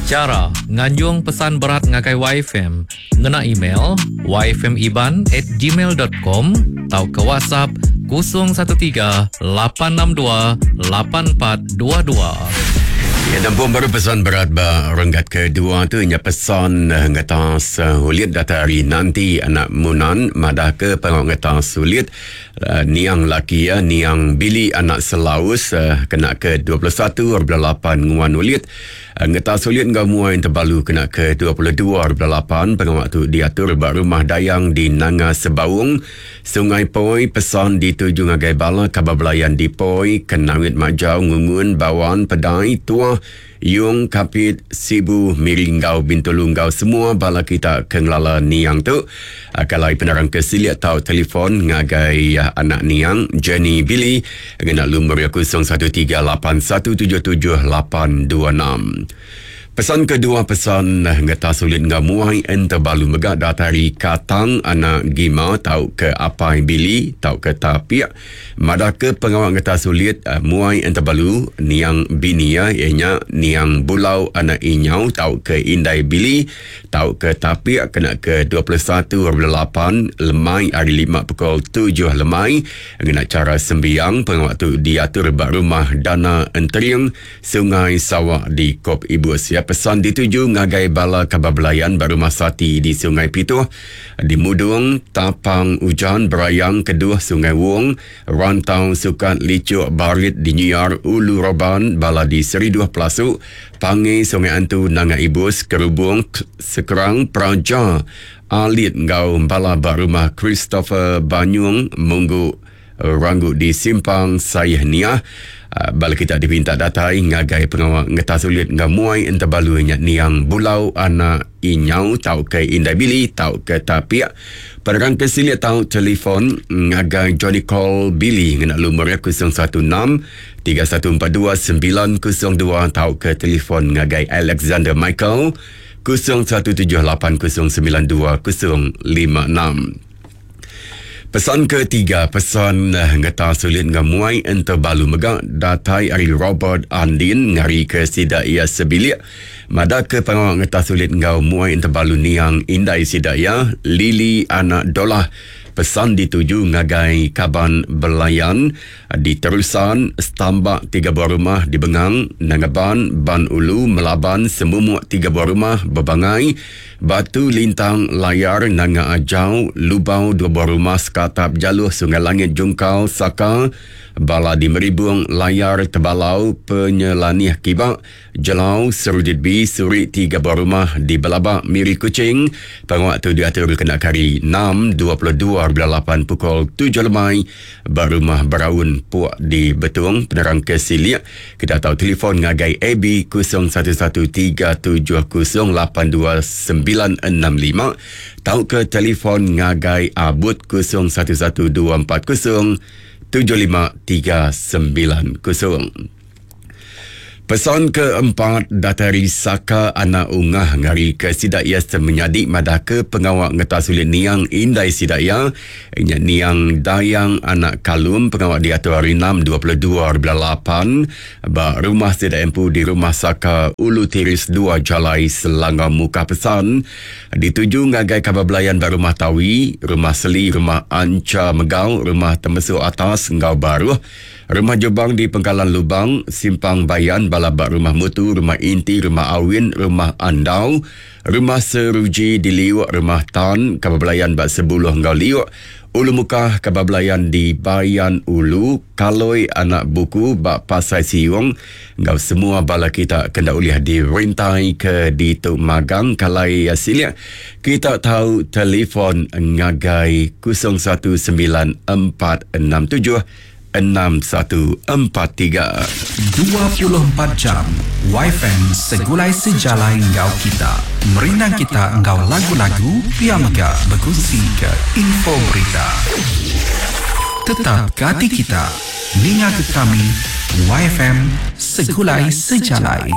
Chara nganjung pesan berat ngagai YFM ngena email yfmiban at gmail dot com tauka WhatsApp 013 862 8422. Ya, nampung baru pesan berat ba renggat kedua tu nya pesan eh, ngetas eh, ulit datai ari nanti anak Munan madah ke pengawa ngetas ulit eh, niang laki iya niang Billy anak Selaus kena ke 21 bulan 8 nguan ulit Ngetas sulit enggau muai Entebalu kena ke 22 hari bulan lapan, pengawa tu diatur ba Rumah Dayang di Nanga Sebaung, Sungai Poi. Pesan dituju ngagai bala kaban belayan di Poi, Kenawit Majau, Ngungun, Bawan, Pedai, Tuah, Yong, Kapit, Sibu, Miri enggau Bintulu enggau semua bala kita ke ngelala niang tu. Kalai penerang ke silik tau telefon ngagai anak niang Jenny Billy ngena lumur iya 0138177826. Pesan kedua pesan ngetas ulit enggau muai entebalu mega datai ari Katang anak Gima tauka Apai Billy tauka Tapik Madahka pengawa ngetas ulit muai entebalu niang bini iya iya nya niang Bulau anak Inyau tauka Indai Billy tauka Tapik kena ke 21 hari bulan lapan lemai hari lima pukul tujuh lemai ngena chara sembiang pengawa tu diatur ba Rumah Dana Entering Sungai Sawa di Kop Ibus. Iya pesan dituju ngagai bala kaban belayan ba Rumah Sati di Sungai Pituh Di Mudung, Tapang Ujan, Berayang, Keduh, Sungai Wong, Rantau, Sukat, Lichuk, Barit, di Nyiar, Ulu Roban, bala di Seriduh, Pelasu, Pangi, Sungai Antu, Nanga Ibus, Kerubung, Sekerang, Praja, Alit enggau bala ba Rumah Christopher Banyung, Munggu, Ranggu di Simpang Sayeh Niah. Bala kita dipinta datai ngagai pengawa ngetas ulit enggau muai entebalu nya niang Bulau anak Inyau tauka Indai Billy tauka Tapik. Penerang ke silik tau telefon ngagai Johnny Call Billy ngena lumur iya 016 3142 902 tauka telefon ngagai Alexander Michael 017 809 2056. Pesan ketiga, pesan eh, ngeta sulit enggau muai entebalu mega datai ari Robert Andin ngari ke sida iya sebilik madah ke pengawa ngeta sulit enggau muai entebalu niang indai sida iya Lily anak Dolah. Pesan dituju ngagai kaban belayan Di Terusan, setambak tiga buah rumah di Bengang, Nangaban, Ban Ulu, Melaban, Semumuk tiga buah rumah, Bebangai, Batu Lintang, Layar, Nanga Ajau, Lubau dua buah rumah, Sekatap, Jaluh, Sungai Langit, Jungkal, Saka, Bala di Meribung, Layar, Tebalau, Penyelanih Kiba, Jelau, Serudit B, Surik tiga buah rumah di Belabak, Miri Kuching. Pengawa tu diatur kena ke hari enam, 22 hari bulan lapan pukul tujuh lemai ba Rumah Beraun Puk di Betong. Penerang ke silik, kita tau telefon ngagai AB 0113708296 tauka telefon ngagai Abut 011240 75390. Pesan keempat datai ari Saka anak Ungah ngari ke sida iya semenyadi madah ke pengawa ngetas ulit niang indai sida iya nya niang Dayang anak Kalum pengawa diatur hari enam 22 hari bulan lapan ba rumah sida empu di Rumah Saka Ulu Tiris dua Jalai Selangau Mukah Pesan dituju ngagai kaban belayan ba Rumah Tawi, Rumah Seli, Rumah Ancha Megau, Rumah Temesu Atas enggau Baruh. Rumah Jubang di Pengkalan Lubang, Simpang Bayan, bala ba Rumah Mutu, Rumah Inti, Rumah Awin, Rumah Andau, Rumah Seruji di Liuk, Rumah Tan, Kaban Belayan ba Sebuluh enggau Liuk, Ulu Mukah, Kaban Belayan di Bayan Ulu, Kaloi Anak Buku ba Pasai Siung enggau semua bala kita ke enda ulih dirintai ke ditu magang kalai silik kita tau telefon ngagai 019467 6143. 24 jam Wifi segulai sejalai enggau kita. Merindang kita enggau lagu-lagu pia mega bekunsi ke info berita. Tetap ke ati kita. Ninga ke kami YFM Segulai Sejalai.